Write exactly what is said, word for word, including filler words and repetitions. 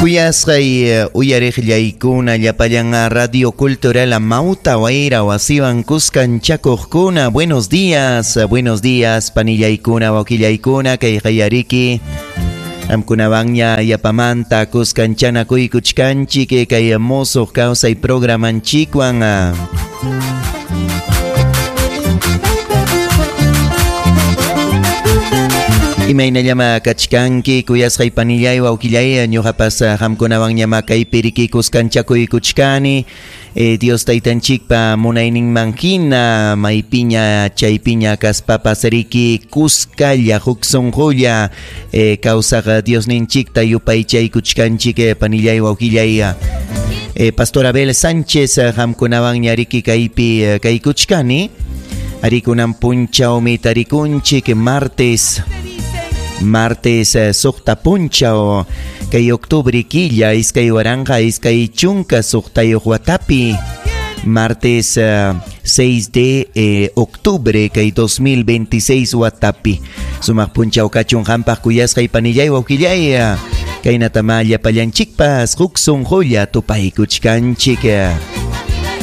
Kuyasqay uyariqllaykuna llapallan Radio Cultural Amauta Wayra wasiwan kuskanchakuqkuna, buenos días, buenos días panillaykuna wakillaykuna kay qayariki amkunawanña yapamanta kuskanchanakuykuchkanchik kay musuq kawsay programanchikwan. Imaynallama kachkanki kuyasqay panillay wawqillay ñuqapas qamkunawanñama kaypi riki kuskanchakuykuchkani eh, Dios taytanchikpa munayninman hina maypiña chaypiña kaspapas riki kuskalla huk sunqulla eh, kawsaq Diosninchikta yupaychaykuchkanchik panillay wawqillay. Eh, Pastor Abel Sánchez qamkunawanña riki kaypi kaykuchkani arikunan punchawmi tarikunchik martes Martes suqta punchaw kay octubre killa iskay waranqa iskay chunka suqtayuq watapi martes uh, seis de eh, octubre kay dos mil veintiséis watapi sumaq punchaw kachun qampaq kuyasqay panillay wawqillay kaynatama llapallanchikpas huk sunqulla tupaykuchkanchik.